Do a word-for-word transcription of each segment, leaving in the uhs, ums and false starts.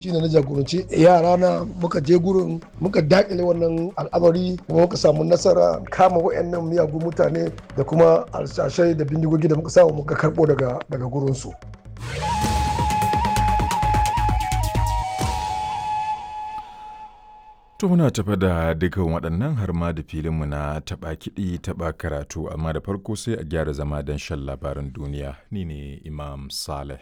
Shine na jagoranci yara na muka je gurin muka dakile wannan al'amari kuma muka samu nasara kama wayannan miyagun mutane da kuma alsashai da bindigogi da muka samu muka karbo daga daga gurinsu. To muna tafa da dukkan waɗannan har ma da filinmu na taɓa kiɗi taɓa karatu, amma da farko sai a gyara zama don shan labaran duniya. Ni ne Imam Saleh.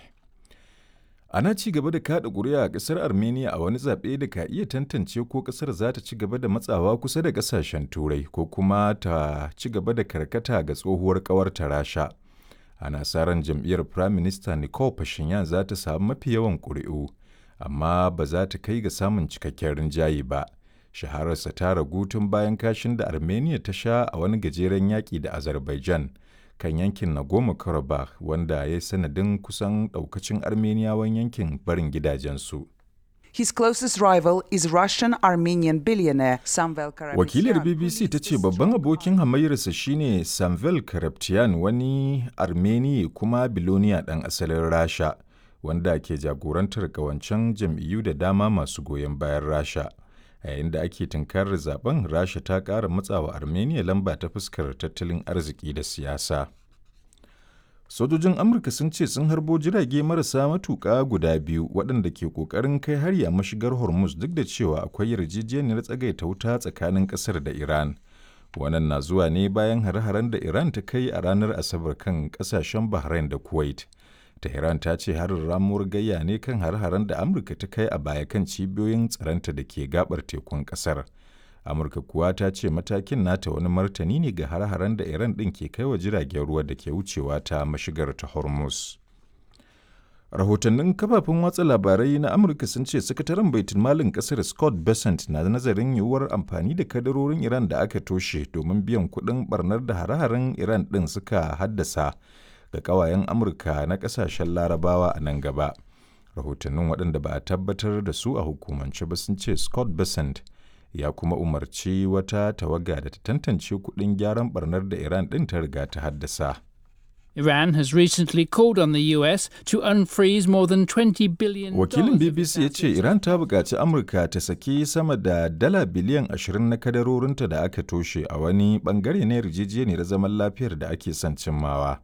Ana ci gaba da kaɗa ƙuri'a a ƙasar Armenia a wani zaɓe da ka iya tantance ko ƙasar za ta ci gaba da matsawa kusa da ƙasashen Turai ko kuma ta ci gaba da karkata ga tsohuwar ƙawarta Rasha. Ana sa ran jam'iyyar Prime Minister Nikol Pashinyan za ta samu mafi yawan ƙuri'u, amma ba za ta kai ga samun cikakken rinjaye ba. Shahararsa ta ragu tun bayan kashin da Armenia ta sha a wani gajeren yaƙi da Azerbaijan kan yankin Nagorno-Karabakh, wanda ya yi sanadin kusan ɗaukacin Armeniyawan yankin barin gidajensu. His closest rival is Russian-Armenian billionaire Samvel Karapetyan. Wakilar B B C ta ce babban abokin hamayyarsa shine Samvel Karapetyan, wani Armeni kuma biloniya ɗan asalin Rasha, wanda ke jagorantar ƙawancen jam'iyyu da dama masu goyon bayan Rasha. A yayin da ake tunkarar zaben, Rasha ta ƙara matsawa Armenia lamba ta fuskar tattalin arziki da siyasa. Sojojin Amurka sun ce sun harbo jirage marasa matuƙa guda biyu waɗanda ke ƙoƙarin kai hari a mashigar Hormuz, duk da cewa akwai yarjejeniyar tsagaita wuta tsakanin ƙasar da Iran. Wannan na zuwa ne bayan hare-haren da Iran ta kai a ranar Asabar kan ƙasashen Bahrain da Kuwait. Tehran ta ce harin ramuwar gayya ne kan har-haren da Amurka ta kai a baya kan cibiyoyin tsaronta da ke gabar tekun kasar. Amurka kuwa ta ce matakin nata wani martani ne ga har-haren da Iran ɗin ke kai wa jiragen ruwa da ke wucewa ta mashigar ta Hormuz. Rahotannin kafafen watsa labarai na Amurka sun ce sakataren baitul malin kasar Scott Bessent na nazarin yiwuwar amfani da kadarorin Iran da aka toshe domin biyan kuɗin barnar da hare-haren Iran ɗin suka haddasa ga kawayen Amurka na kasashen Larabawa a nan gaba. Rahotannin, waɗanda ba a tabbatar da su a hukumance ba, sun ce Scott Bessent ya kuma umarci wata tawaga da ta tantance kuɗin gyaran barnar da Iran ɗin ta riga ta haddasa. Iran has recently called on the U S to unfreeze more than twenty billion. Wakilin B B C ya ce Iran ta buƙaci Amurka ta saki sama da dala biliyan ashirin na kadarorinta da aka toshe a wani bangare na yarjejeniyar zaman lafiyar da ake son cimmawa.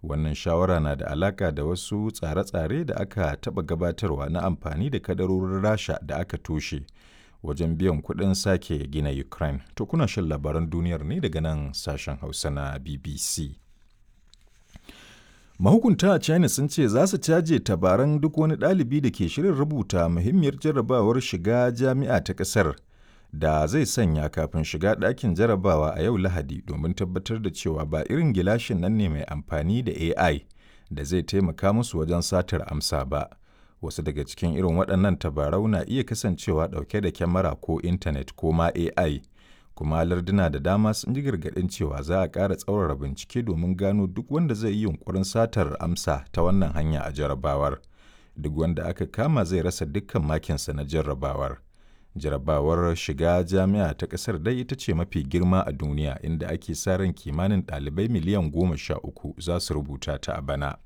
Wannan shawara na da alaka da wasu tsare-tsare da aka taɓa gabatarwa na amfani da kadarorin Rasha da aka toshe wajen biyan kuɗin sake gina Ukraine. To, kuna shan labaran duniyar ne daga nan sashen Hausa na B B C. Mahukunta a China sun ce za su caje tabaran duk wani ɗalibi da ke shirin rubuta muhimmiyar jarrabawar shiga jami'a ta ƙasar da zai sanya kafin shiga ɗakin jarabawa a yau Lahadi, domin tabbatar da cewa ba irin gilashin nan ne mai amfani da A I da zai taimaka musu wajen satar amsa ba. Wasu daga cikin irin waɗannan tabarau na iya kasancewa ɗauke da kyamara ko intanet ko ma A I. Kuma larduna da dama sun ji gargaɗin cewa za a ƙara tsaurara bincike domin gano duk wanda zai yi yunƙurin satar amsa ta wannan hanya a jarabawar. Duk wanda aka kama zai rasa dukkan makinsa na jarrabawar. Jarabawar shiga jami'a ta kasar dai ita ce mafi girma a duniya, inda ake sa ran kimanin ɗalibai miliyan goma sha uku za su rubuta ta a bana.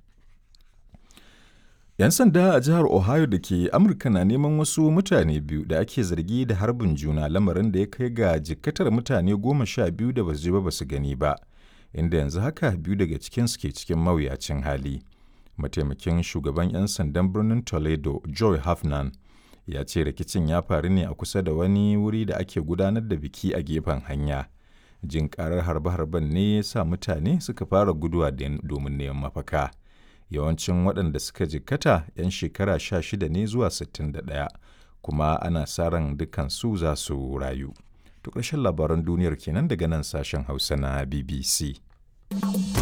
'Yan sanda a jihar Ohio da ke Amurka na neman wasu mutane biyu da ake zargi da harbin juna, lamarin da ya kai ga jikkatar mutane goma sha biyu da basu ji ba basu gani ba, inda yanzu haka biyu daga cikinsu ke cikin mawuyacin hali. Mataimakin shugaban 'yan sandan birnin Toledo, Joy Hafnan, ya ce rikicin ya faru ne a kusa da wani wuri da ake gudanar da biki a gefen hanya. Jin karar harbe-harben ne ya sa mutane suka fara guduwa domin neman mafaka. Yawancin waɗanda suka jikkata 'yan shekara sha shida ne zuwa sittin da ɗaya, kuma ana sa ran dukansu za su rayu. To, ƙarshen labaran duniyar kenan daga nan sashen Hausa na B B C.